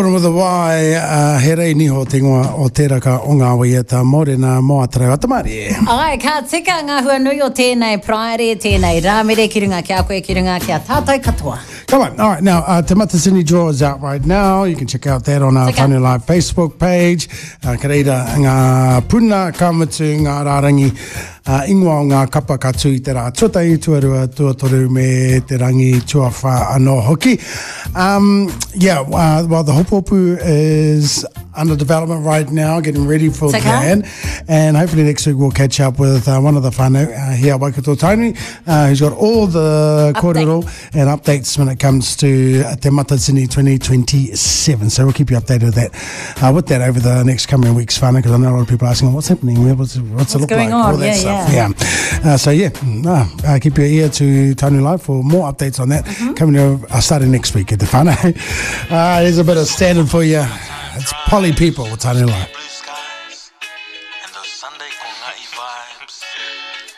With a Y, uh, he rei niho te ingoa o tēraka o ngā waiata mōrena mō Atarau Atamārie. Ai, ka tika ngā hua nui o tēnei Paraire, tēnei Rāmere ki runga ki a koe, ki runga ki a tātou katoa. Come on. All right, now, uh, Te Matatini Draw is out right now. You can check out that on our Tika. Live Facebook page. Uh, ka reira ngā puna, ka mutu ngā rārangi uh, ingoa o ngā kapa ka tū i te rā tuatahi, tuarua, tuatoru me te rangi tuawhā anō hoki. Um, yeah, uh, well, the Hopuhopu is under development right now, getting ready for Tika. that. And hopefully next week we'll catch up with uh, one of the whānau uh, here at Waikato Tainui, uh, who's got all the kōrero and updates when it comes to Te Matatini 2027. So we'll keep you updated with that, uh, with that over the next coming weeks, whānau, because I know a lot of people are asking, what's happening? What's, what's, what's it look going like? On? All that yeah, stuff. Yeah. yeah. Uh, so yeah, uh, keep your ear to Tainui Live for more updates on that mm-hmm. coming uh, starting next week at the whānau. Uh, here's a bit of standard for you. It's Polly People with Tainui Live.